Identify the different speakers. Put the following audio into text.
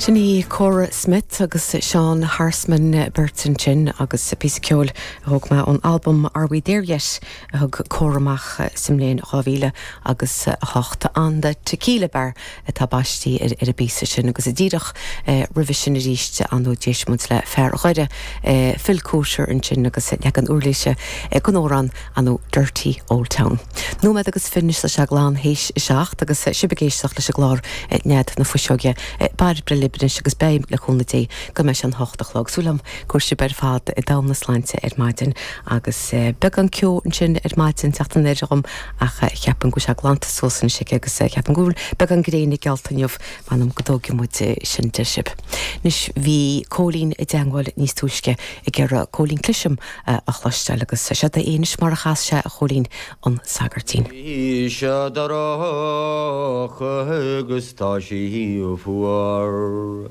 Speaker 1: Sin í Cora Smith agus Seán Hersman beirt ansin agus píosa ceoil a thóg mé ón albam Are We There Yet a thug Cora amach sa mbliain 2000 agus 8. On the Tequila Bar atá baistí ar an bpíosa sin agus díreach roimhe sin arís ar ndóigh d'éist muid le fear Dhoire Phil Coulter ansin agus leagan uirlise den amhrán ar ndóigh Dirty Old Town. Nóiméad agus fiche anois tá sé glan théis a 7 agus sibh ag éisteacht leis an gclár Nead na Fuiseoige. Bairbre libh anois agus beidh, le cúnamh Dé, go mbeidh sé an hocht a chlog. Súil agam go bhfuil sibh ar fad i dtogha na sláinte ar maidin agus beagán ceo ansin ar maidin teacht anoir dhom ach ceapaim go bhfuil sé glanta suas anois aici agus ceapaim go bhfuil beagán gréine geallta inniu, m'anam go dtógfaidh muid sin de sibh. Anois bhí Cóilín i dteangmháil níos túisce ag iarraidh Cóilín Clism a chloisteáil agus seod é anois mar a chas sé a Chóilín an Sagairtín.
Speaker 2: Tá sé dorcha agus tá sí fuar.